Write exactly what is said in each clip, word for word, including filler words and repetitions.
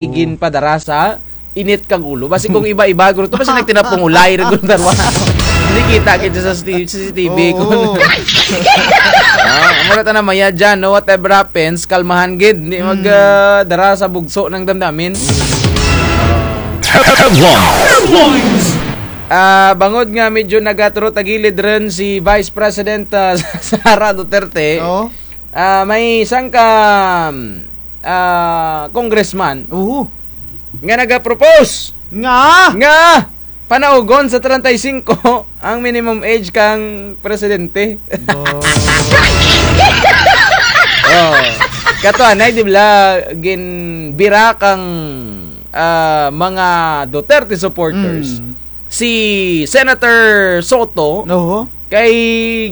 ginpadara sa init kang ulo. Basi kung iba-iba, guro to, basi nagtinapong ulay, guro, darwa. Hindi kita, kita sa C C T V, Oo. Kung ah, amo ra tana maya dyan, no? Whatever happens, kalmahan gid. Hindi mag, ah, dara sa bugso ng damdamin. Headlines. Ah, bangod nga medyo nagaturo tagilid rin si Vice President, ah, Sara Duterte. Oo. Ah, may isang ka, ah, congressman Oo. Nga naga-propose Nga? nga panaugon sa treinta y cinco ang minimum age kang presidente. Bo. Oh. Kato anay, di bala, ginbira kang, ah, mga Duterte supporters. Mm. Si Senator Soto, Oho. kay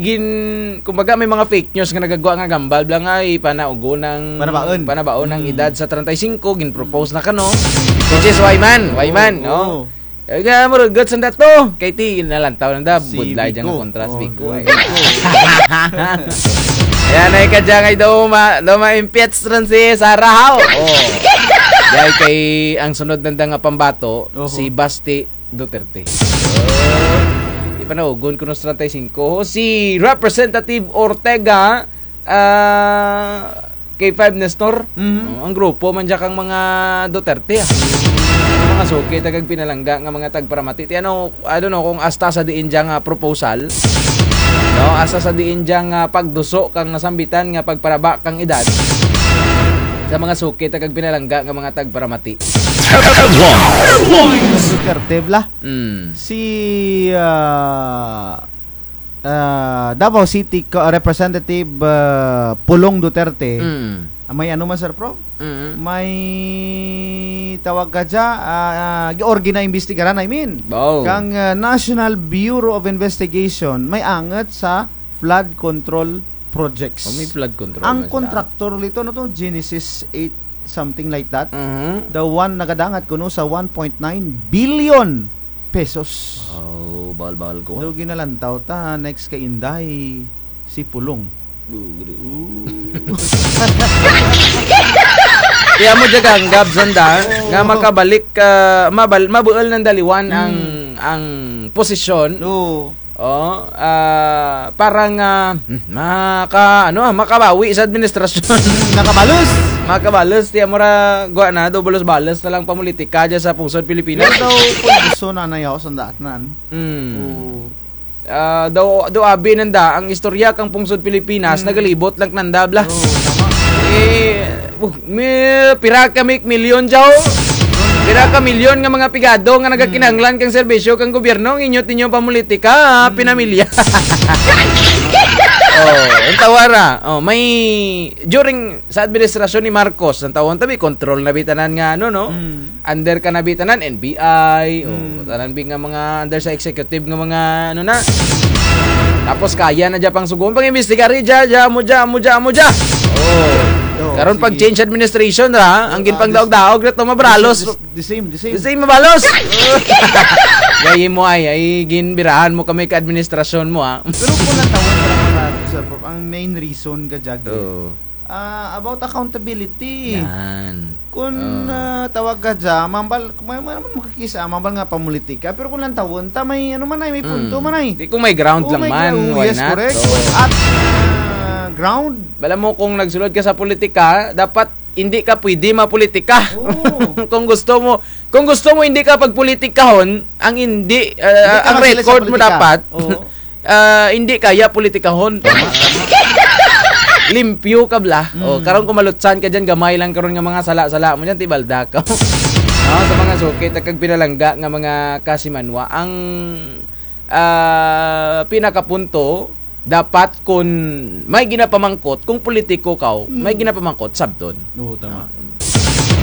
gin-, kumbaga may mga fake news nga nagagwa nga gambal, bala nga ipanaugon ang Panabaon. panabaon ang Mm. edad sa treinta y cinco, gin-propose na kano. Which is why man, why man, Oo. no? Ay, nga, murag, guts ang dato. Kay ti, nalantaw na da, Si budlay dyan Vico. nga kontra si Oh, Vico, ay. Vico. Yan, ay ka dyan, ay daw ma-, daw ma-impeach rin si Sara, haw. Oh. Dahil kay, ang sunod nanda nga pambato, Oho. si Basti Duterte. Di panaugon kuno sa treinta y cinco. Si Representative Ortega, ah, K five Nestor. Mhm. Oh, ang grupo man dyan kang mga Duterte, ah. Mga suki, tagagpinalangga nga mga tagparamati. Ti ano, I don't know kung hasta sa diin dyan nga proposal. No, hasta sa diin dyan nga pagduso kang nasambitan nga pagparaba kang edad. Sa mga suki, tagagpinalangga nga mga tagparamati. Headlines. Duterte bala. Mm. Si, ah, ah, Davao City Co-, Representative, ah, Pulong Duterte. Mm. Ah, may ano man, Sir Pro? Mm. May tawag ka dya, ah, ah, gi-, or ginaimbestigaran, I mean. Wow. Kang, ah, National Bureau of Investigation, may angut sa flood control projects. Oh, may flood control Ang na sila. Contractor lito, ano to? Genesis eight, something like that. Mhm. The one nagadangat kuno sa one point nine billion pesos. Oh, bahal-bahal ko. Do ginalantaw ta, next kay Inday, si Pulong. Bugre. Ooh. Kaya mo dyan, Gab, sanda, Oo. nga makabalik, ah, mabal-, mabuol nanda liwan ang, Hmm. ang posisyon. Oo. Oh, ah, parang, ah, hmm, maka-, ano, ah, makabawi sa administrasyon. Makabalos. Makabalos, ti amo ra, gwa na, do balos-balos na lang pamulitika dyan sa pungsod Pilipinas. Pero daw, pulbuso na na yaw, sanda atnan. Hmm. Oo. Ah, daw, daw abi nanda, ang istorya kang pungsod Pilipinas, Hmm. nagalibot lang nanda, bala. Oo, tama. Eh, uh, mi-, pira ka mi-, milyon dyaw? Pira ka milyon nga mga pigado nga nagakinahanglan kang serbisyo kang gobyerno, ang inyo tinyo pamulitika, ha, Hmm. pinamilya. Oh, ang tawara. Oh, may, during sa administrasyon ni Marcos, ang tawon tabi, control na bi tanan nga, ano, no? Hmm. Under ka na bi tanan, N B I, o, Hmm. tanan bi nga mga under sa executive nga mga, ano na. Tapos kaya na dya pang sugon, pang-imbestigar, dya, dya, amo dya, amo dya, amo dya. Oh. Oo, Karon sige. Pag change administration ra, ang Oo, ginpangdaog-daog ra to, mabralos. The, the, the same, the same. The same, mabalos. Gayi mo ay, ay, ginbirahan mo kami ka administrasyon mo, ah. Pero kung natawag ka lang, Sir Prof, ang main reason ka dyan, Oo. Ah, about accountability. Yan. Kun, Oo. ah, tawag ka dya, mambal, kung may, may naman makakisa, mambal nga pamulitika. Pero kung lantawon ta, may, ano man ay, may punto Mm. man ay. Di kung may ground Oo, lang may man, gra-, why yes, not? Correct. Oo. At, ah, ground. Bala mo, kung nagsulod ka sa politika, dapat hindi ka pwede mapolitika. Oo. Kung gusto mo, kung gusto mo hindi ka pagpolitikahon, ang hindi, ah, Hindi ka ang masulod sa record mo politika. Dapat, Oo. ah, hindi kaya politikahon. Tama, tama. Limpyo ka bala. Mm. O, karon kung malutsan ka dyan, gamay lang karon nga mga sala-sala mo dyan, ti balda ka. Ah, sa mga suki, ta kag pinalangga nga mga kasimanwa, ang, ah, pinakapunto, dapat kung may ginapamangkot, kung politiko ka, Mm. may ginapamangkot, sabton. Oo, tama. Ah,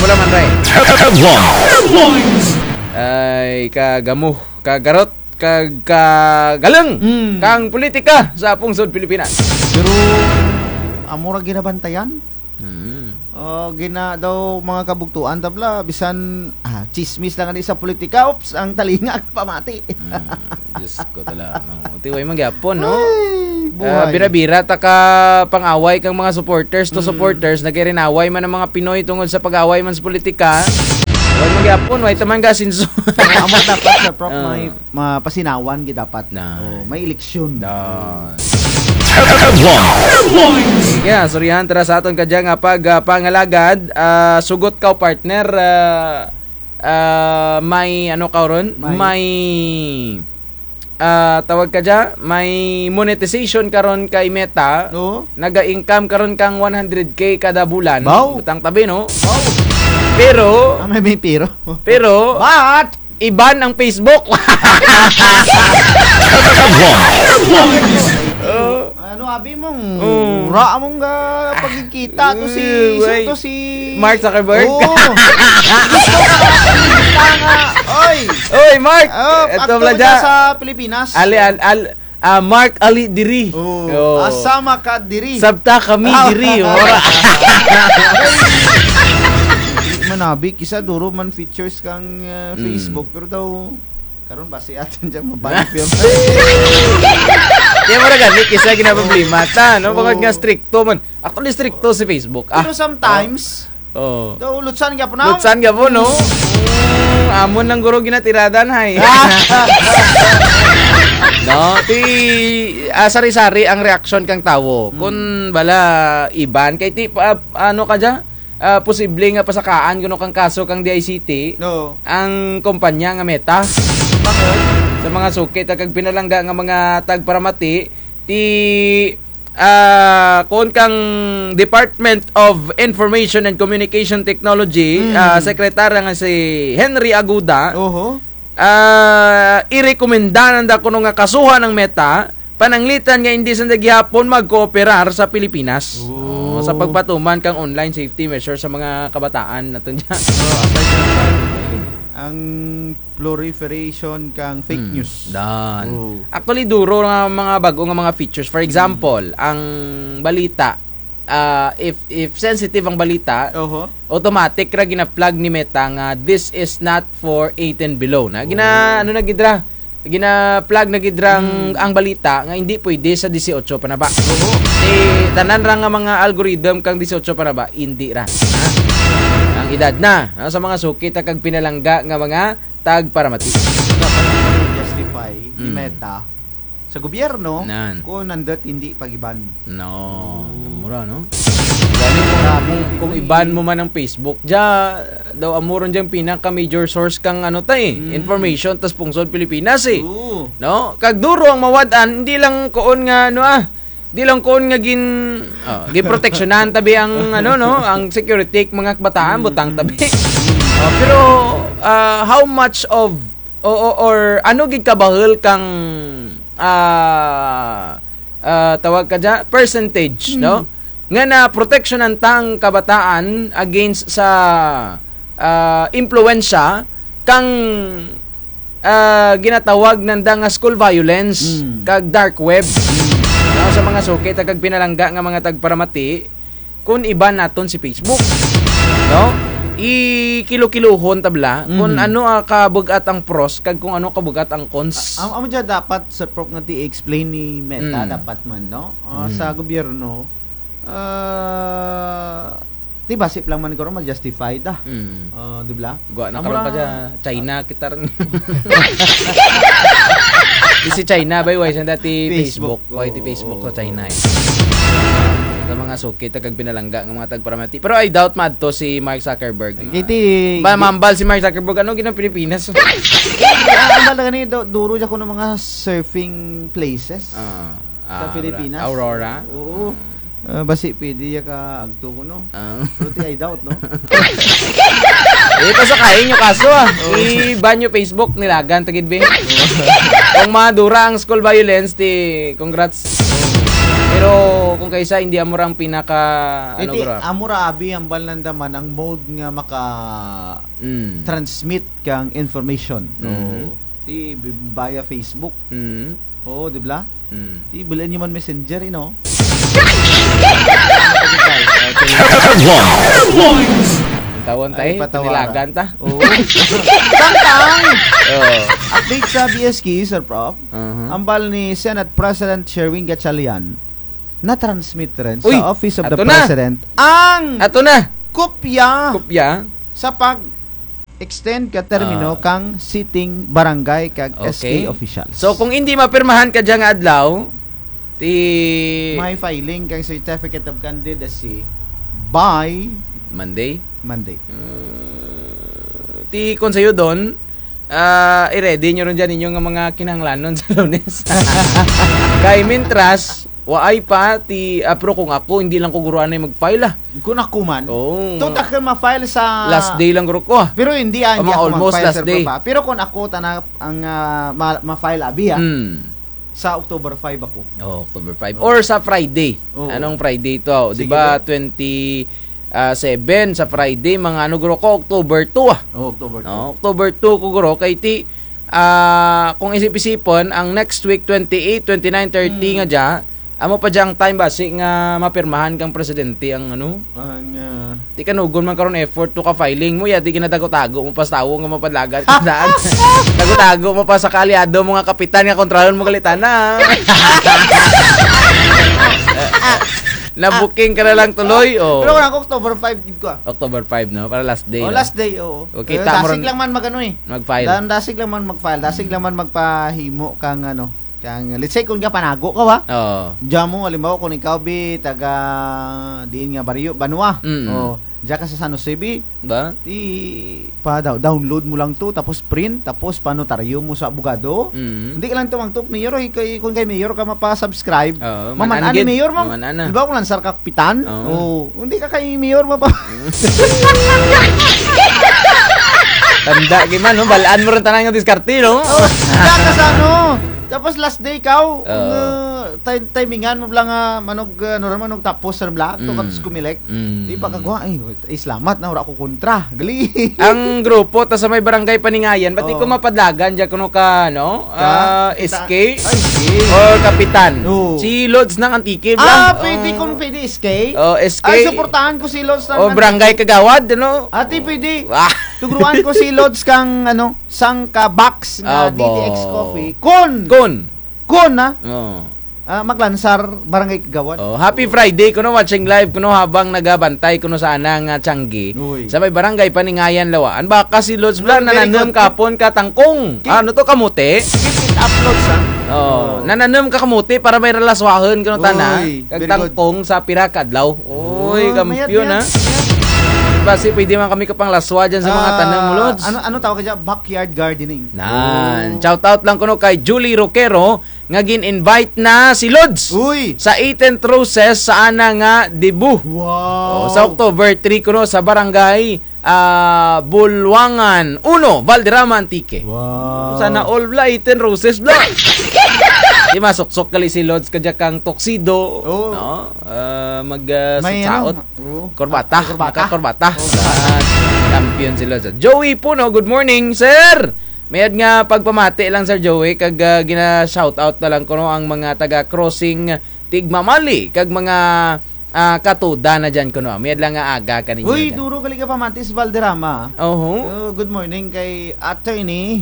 mula man, Ray. Headlines. Ay, kagamo, kagarot, kag-, kagaleng Mm. kang politika sa pungsod Pilipinas. Pero, amo ra ginabantayan? Mm. O, gina daw mga kabugtuan, ta bala, bisan, ah, tsismis lang ani sa politika, oops, ang talinga pamati. Mm. Diyos ko, tala, mang-, ti way man gyapon, no? Ay, Ah, buhay. Bira-bira ta ka pang-away kang mga supporters to Mm. supporters, nagarinaway man ang mga Pinoy tungod sa pag-away man sa politika. Magyapon, way taman ka asenso. Amo dapat, Sir Prof, Ah. may mapasinawan gid dapat. Na. Oh, may eleksyon. Na. Headlines. Sige, sorryhan ta ra sa aton kadya nga pag, ah, pangalagad, ah, sugot kaw, partner, ah, ah, may ano kaw ron? May May ah, tawag kadya, may monetization karon kay Meta. Oo. Naga-income karon kang one hundred K kada bulan. Baw. Butang tabi, no? Baw. Pero, Ah, may, may pero. pero, But, i-ban ang Facebook. Oh. Ano, abi mong, Oh. ra mong ga-, pagkikita to si, Eh, sino way. to si Mark Zuckerberg? Oo. Gusto ka makita nga. Oy! Oy, Mark! Oh, Eto aktor pala dya. dya sa Pilipinas. Ali, al, al, ah, Mark Ali diri. Oo. Oo. Asama ka diri. Sabta kami Ah. diri, oh. Di man abi, kis-a duro man features kang, ah, Mm. Facebook, pero daw, karon basi atun dyan, mabalik yun. Kaya mura gani, kis-a ginaproblema ta, no? Oo. Bangod nga stricto man. Actually, stricto si Facebook. Ah. Pero sometimes, Oh. daw, lutsan gyapon, no? Lutsan gyapon, no? Mm, amon lang guro ginatiradan, hay. Ah. No? Ti, ah, sari-sari ang reaksyon kang tawo. Mm. Kun bala i-ban, kay ti, pa, ano kadya? Ah, posible nga pasakaan kuno kang kaso kang D I C T Oo. ang kumpanya nga Meta. Bakit? Sa mga suki ta kag pinalangga nga mga tagparamati, ti, ah, kuon kang Department of Information and Communication Technology, Mm. ah, sekretarya nga si Henry Aguda, Oho. ah, irekomenda nanda kuno nga kasuhan ang Meta, pananglitan nga indi sanda gihapon magkooperar sa Pilipinas. Oh. Oh, sa pagpatuman kang online safety measures sa mga kabataan natun dyan. Oh, aside from that, ang proliferation kang fake Hmm, news. dan. Oh. Actually, duro nga mga bag-o nga mga features. For example, Hmm. ang balita, ah, if, if sensitive ang balita, Oho. automatic ra gina-flag ni Meta nga this is not for eighteen below. Na, gina-, Oh. ano na gid ra? Gina-flag na gid rang Hmm. ang balita nga hindi pwede sa disiotso panaba. Oo. Eh, tanan ra nga mga algorithm kang disiotso panaba, hindi ra. Ha? Ang edad na, no? Sa mga suki ta kag pinalangga nga mga tagparamati. Dapat justify ni Hmm. Meta sa gobyerno Nan. kung nandut hindi pag-iban. No, Oh. mura, no? Gani kung, Grabe, kung, kung iban mo man ang Facebook, dya, daw amo ron dyang pinaka major source kang ano ta eh, Mm. information tas pungsod Pilipinas eh. Oo. No? Kag duro ang mawad-an, hindi lang kuon nga ano ah, di lang kuon nga gin, oh, ginproteksyonan tabi ang ano no, ang security mga kabataan, Mm, butang mm. tabi. Oh, pero ah, how much of o, o, or ano gid kabahul kang ah, ah, tawag kadya, percentage, Mm. no? Nga naproteksyonan ta ang kabataan against sa, ah, impluwensya kang, ah, ginatawag nanda nga school violence Mm. kag dark web. Mm. No, sa mga suki ta kag pinalangga nga mga tagparamati, kun iban naton si Facebook, no? Ikilukiluhon ta bala kun Mm. ano ang kabug-at ang pros kag kung ano kabug-at ang cons. A-, am-, amo dya dapat, Sir Prof, nga ti-explain ni Meta Mm. dapat man, no? Ah, Mm. sa gobyerno, ah, ti basi pa lang man guro ma-justify ta. Mm. Ah, di bala? Gwa na Amo karon ra pa dya, China kita rin. Di si China, bay, way sanda ti Facebook. Facebook. Way ti Oo, Facebook sa oo. China, eh. Sa mga suki ta kag pinalangga nga mga tagparamati. Pero I doubt maadto si Mark Zuckerberg. Kay ti Ba, mambal si Mark Zuckerberg, ano ginang Pilipinas? Ah, ang bala gani, du-, duro dya kuno mga surfing places. Ah. Sa Ah, Pilipinas. Aurora? Oo. Ah. Ah, basi pwede ya ka agto kuno. Ah. Pero ti I doubt, no? Eh, pasakain nyo kaso, ah. Oo. I-ban nyo Facebook, nilagan ta gid, be. Oo. Kung madura ang school violence, ti congrats. Oo. Pero kung kaysa, hindi amo ra ang pinaka, Eh, ano, ti, bro? Amo ra abi ang bal nanda man ang mode nga maka Mm. transmit kang information. Mhm. Oo. Ti bi-, via Facebook. Mm. Oo, di bala? Mm. Ti bul-an nyo man Messenger, eh, no? Headlines. Tawon Ay, tayo, patawaran. Pinilagan ta. Oo. Samtang! Oo. Update sa B S K, Sir Prof. Aha. Ang bal ni Senate President Sherwin Gatchalian, na-transmit rin Uy! sa Office of the Ato na! President ang Ato na! kopya Kopya? sa pag- Extend ka termino Ah. kang sitting barangay kag S K Okay. officials. So, kung indi mapirmahan kadya nga adlaw, ti May filing kang certificate of candidacy by Monday? Monday. Uh, ti kon sayo don, ah, i-ready nyo run dyan inyo nga mga kinahanglanon sa Lunes. Kay mintras, waay pa ti, ah, pero kung ako, hindi lang ko guro anay mag-file, ah. Kung ako man. Oo. To, takil ma-file sa Last day lang guro ko, ah. Pero hindi, ah, hindi Ama, ako almost mag-file, last Sir day. Prof, ah. Pero kung ako, tana, ang, ah, ma-, ma-file abi, ah. Mm. Sa October five ako. Oh, October five. Oh. Or sa Friday. Oo. Anong Friday to? Di Sige, ba, bro. twenty, ah, seven sa Friday, mga ano, guro ko, October two, ah. Oh, October two. No, October two ko, guro, kay ti, ah, kung isip-isipon, ang next week, twenty-eight, twenty-nine, thirty Hmm. nga dya, amo pa dya ang time basi nga mapirmahan kang presidente ang ano? Ang, ah, Ti kanugon man karon effort to ka filing mo, ya, ti ginatago-tago mo pa sa tawo nga mapadlagan ka daan. Tago-tago mo pa sa kaalyado mo nga kapitan nga kontrahon mo gali tana. Na-booking ka na lang tuloy, oh. Pero kung ako, October five gid ko, ah. October five, no? Para last day, Oh, no? last day, oo. Okay, Eh, ta mo dasig ron lang man mag-ano, eh. Mag-file. Dan-, dasig lang man mag-file, dasig lang man magpahimo kang ano, Kang, let's say, kung gapanago ka, wa? Oo. Dya mo, halimbawa, kung ikaw, bi, taga diin nga baryo, Banwa. Mm. O, dya ka sa San Jose, bi. Ba? Ti, pa-dow-, download mo lang to, tapos print, tapos panotaryo mo sa abogado. Mm. Hindi ka lang tumangtok, mayor, o, kay, kung kay mayor ka mapa-subscribe, Oo, maman-an man-an ni gid. mayor mo. Maman-an na. Halimbawa, kung lansar ka kapitan, Oo. o, hindi ka kay mayor mapa- Tanda gid man, no? Bal-an mo run tanan nga diskarte, no? O, dya ka sa ano, Tapos last day kaw, Oo. nga, ti-, timingan mo bala nga manog, ah, ano ra, manog tapos ra bala, to Mm. ka sa Comelec. Mm. Di pa kagwa, ay, ay, salamat na, wara ko kontra. Gali. Ang grupo ta sa may barangay Paningayan, bati Oo. ko mapadlagan dya kuno ka, no? Ka? Ah, Kita-, S K? ay, S K. Or Kapitan? Oo. Si Lods ng Antique, bala? Ah, pwede Oh. kung pwede S K. Oh, S K. Ay, suportahan ko si Lods ng O, Antique. Barangay Kagawad, ano? Ati, pwede. Ah. Tuguruan ko si Lods kang, ano, sangka box nga Abo. D T X Coffee. Kun! Kun! Kun, ha? Oo. Ah, maglansar, Barangay Kagawad. Oh, happy Friday kuno, watching live kuno habang nagabantay kuno sa ana nga tiyanggi. Uy. Sa may Barangay Paningayan, Lawaan. Baka si Lods bala, Very nananom good. kahapon ka tangkong. Keep Ah, ano to, kamote? Keep it up, Lods, ha? Oh, Oh. nananom ka kamote para may ra laswahon kuno tana. Uy, Kag very good. tangkong sa pira ka adlaw. Uy, Oh, mayad, kampiyon, mayad, ha? mayad. Basi pwede man kami kapanglaswa dyan sa mga Ah, tanom, Lods. ano, ano tawag ka dyan? Backyard gardening. Nan. Oh. Shout out lang kuno kay Julie Roquero nga gin-invite na si Lods Uy. sa Eighteen Roses sa ana nga debut. Wow. Oh, sa October three kuno sa barangay, ah, Bulwangan uno, Valderrama, Antique. Wow. Sana all bala, Eighteen Roses bala. Di masuksok gali si Lods kadya kang tuxedo, Oo. no? Ah, mag, ah, May sutsaot. ano, Oo. Korbata. Korbata. Maka-korbata. Oo. Ah, kampiyon si Lods. Joey Puno, good morning, sir. Mayad nga pagpamati lang, Sir Joey, kag, ah, gina-shoutout na lang kuno ang mga taga Crossing Tigmamali, kag mga, ah, katuda na dyan kuno. Mayad lang nga aga kaninyo Uy, dyan. duro gali ka pamati sa Valderrama. Oho. Oh, good morning kay Attorney,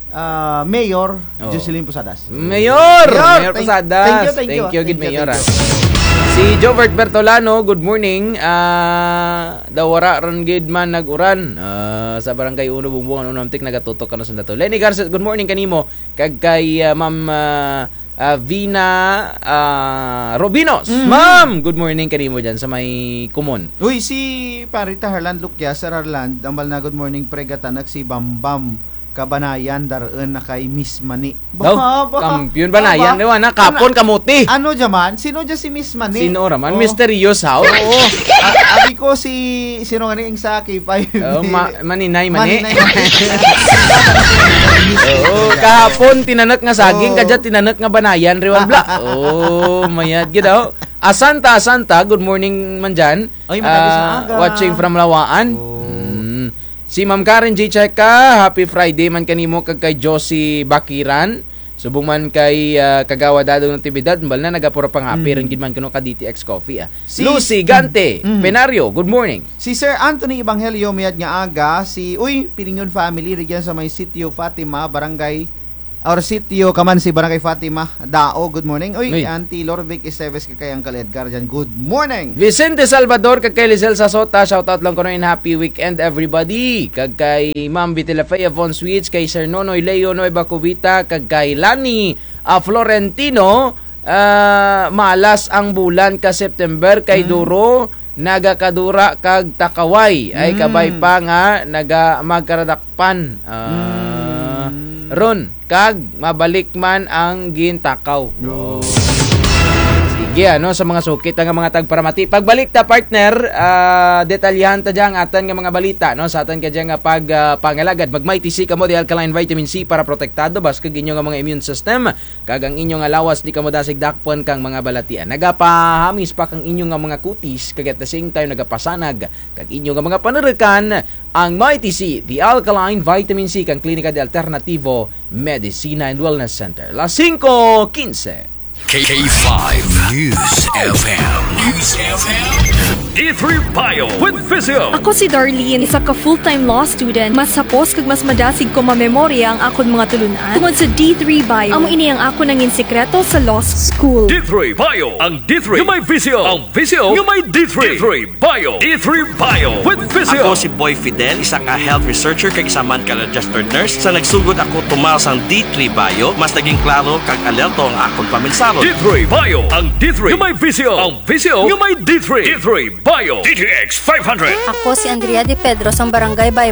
ah, Mayor Oh. Jocelyn Posadas. Mayor! Mayor, Mayor thank, Posadas. thank you, thank you, Thank you, thank gid, you, Mayor, thank ah. you. Si Jovert Bertolano, good morning. Ah, daw wara run gid man nag-uran. Ah, sa Barangay Uno, Bumbungan, Uno, Amtik, nagatutok kano sa dato. Lenny Garces, good morning kanimo. Kag kay, ah, Ma'am, ah, ah, Vina, ah, Robinos. Mhm. Ma'am, good morning kanimo dyan sa may Kumon. Uy, si Pare ta Harland Lucia, Sir Harland, ambal na, "Good morning, pre, gatanak si Bambam. Kabanayan, dar-un na kay Miss Mani." Daw, Ba, ba, kampiyon ba na ba? yan, di ba? Na, kapon, Ano, kamuti. ano dyan man? Sino dyan si Miss Mani? Sino ra man? Oh. Mysterious, how? Oo. A-, abi ko si, sino nga ni, ing sa K five? Oh, ma-, maninay, mani. Maninay, mani. Oo, kahapon, tinanak nga saging, Oo. kadya tinanak nga banayan, riwan bla. Oh, mayad gid, oh. Asanta, Asanta, good morning man dyan. Ay, matagis na Ah, aga. watching from Lawaan. Oh. Mm. Si Ma'am Karen G Cheka, happy Friday man kanimo kag kay Josie Bakiran. Subong man kay, ah, Kagawad Dadong Natividad, ambal na nagapura pang happy Mm. rin gid man kuno ka D T X Coffee, ah. Si Lucy Gante, Mm. Penario, good morning. Si Sir Anthony Evangelio, mayad nga aga, si, uy, Pilingon family, rugyan sa may Sitio Fatima, Barangay Orsitio Kamansi, Barangay Fatima, Dao, good morning. Uy, Uy. Auntie Lorvic Esteves, kay Uncle Edgar dyan, good morning. Vicente Salvador, kay Lisel Sasota, shout out lang kuno and happy weekend, everybody. Kag kay Ma'am Vitelafea Von Switch, kay Sir Nonoy Leo Nueva Cubita, kag kay Lani, ah, Florentino, ah, malas ang bulan ka September, kay Mm. duro, nagakadura kag takaway. Ay, Mm. kabay pa nga, naga-, magkaradakpan. Ah, Mm. ron, kag mabalik man ang gintakaw. Oh. Sige, ano, sa mga suki ta nga mga tagparamati. Pagbalik ta, partner, ah, detalyahan ta dyan ang atan nga mga balita, no? Sa atan ka dyan nga pag, ah, pangalagad. Mag-Mighty C kamo, the alkaline vitamin C para protektado, bas kag inyo nga mga immune system. Kag ang inyo nga lawas, di kamo dasig dakpon kang mga balatian. Nagapahamis pa kang inyo nga mga kutis, kag at the same time, nagapasanag kag inyo nga mga panurukan, ang Mighty C, the alkaline vitamin C, kang Klinika de Alternativo Medicina and Wellness Center. Las singko kinse. K five News F M. News F M. D three Bio with Visio. Ako si Darlene, isa ka full-time law student. Mas hapos kag mas madasig ko mamemorya ang akon mga tulun-an tungod sa D three Bio. Amo ini ang akon nangin sikreto sa law school. D three Bio, ang D three nga may Visio. Ang Visio nga may D three. D three Bio. D three Bio with Visio. Ako si Boy Fidel, isa ka health researcher kag isa man ka registered nurse. Sa nagsugod ako tumal sang D three Bio, mas naging klaro kag alerto ang akon pamensahon. D three Bio, ang D three nga may Visio. Ang Visio nga may D three. D three Bio. D T X five hundred. Ako si Andrea De Pedro sang Barangay Bay